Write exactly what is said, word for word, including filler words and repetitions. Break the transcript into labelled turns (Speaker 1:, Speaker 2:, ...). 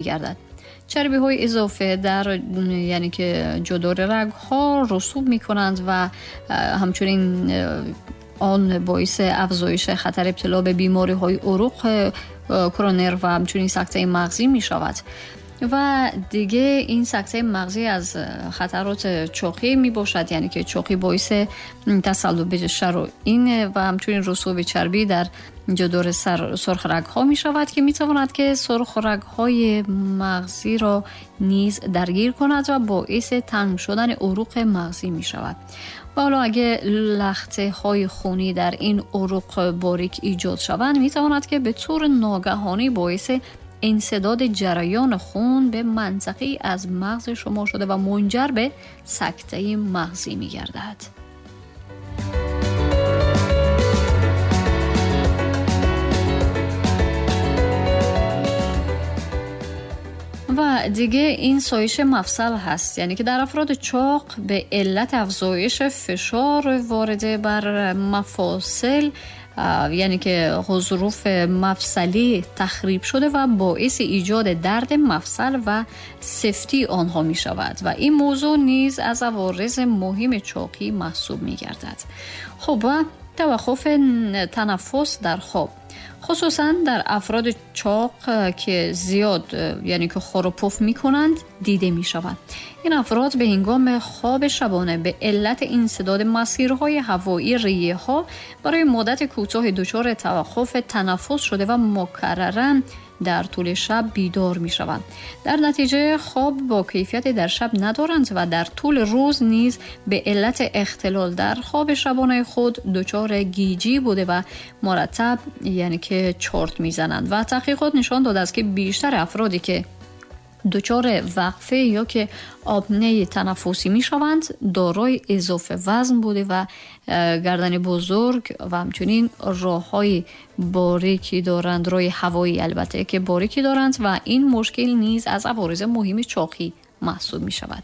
Speaker 1: گردد. چربی های اضافه در یعنی که جدار رگ ها رسوب می کنند و همچنین آن باعث افزایش خطر ابتلا به بیماری های عروق کرونر و همچنین سکته مغزی می شود. و دیگه این سکته مغزی از خطرات چاقی می باشد، یعنی که چاقی باعث تصلب شرايین و همچنین رسوب چربی در جدار سرخ رگ ها می شود که می تواند که سرخ رگ های مغزی را نیز درگیر کند و باعث تنگ شدن عروق مغزی می شود. و حالا اگه لخته های خونی در این عروق باریک ایجاد شوند می تواند که به طور ناگهانی باعث انسداد جریان خون به منطقه‌ای از مغز شما شده و منجر به سکته مغزی می گردد. و دیگه این سایش مفصل هست، یعنی که در افراد چاق به علت افزایش فشار وارده بر مفاصل، یعنی که غضروف مفصلی تخریب شده و باعث ایجاد درد مفصل و سفتی آنها می شود و این موضوع نیز از عوارض مهم چاقی محسوب می گردد. خب و توقف تنفس در خواب، خصوصا در افراد چاق که زیاد یعنی که خور و پف می کنند دیده می شود. این افراد به هنگام خواب شبانه به علت انسداد مسیرهای هوایی ریه ها برای مدت کوتاه دچار توقف تنفس شده و مکرراً در طول شب بیدار می شوند. در نتیجه خواب با کیفیت در شب ندارند و در طول روز نیز به علت اختلال در خواب شبانه خود دچار گیجی بوده و مرتب یعنی که چرت می زنند. و تحقیقات نشان داده است که بیشتر افرادی که دچار وقفه یا که آپنه تنفسی می شوند دارای اضافه وزن بوده و گردن بزرگ و همچنین راه‌های باریکی دارند، راه هوایی البته که باریکی دارند و این مشکل نیز از عوارض مهم چاقی محسوب می شود.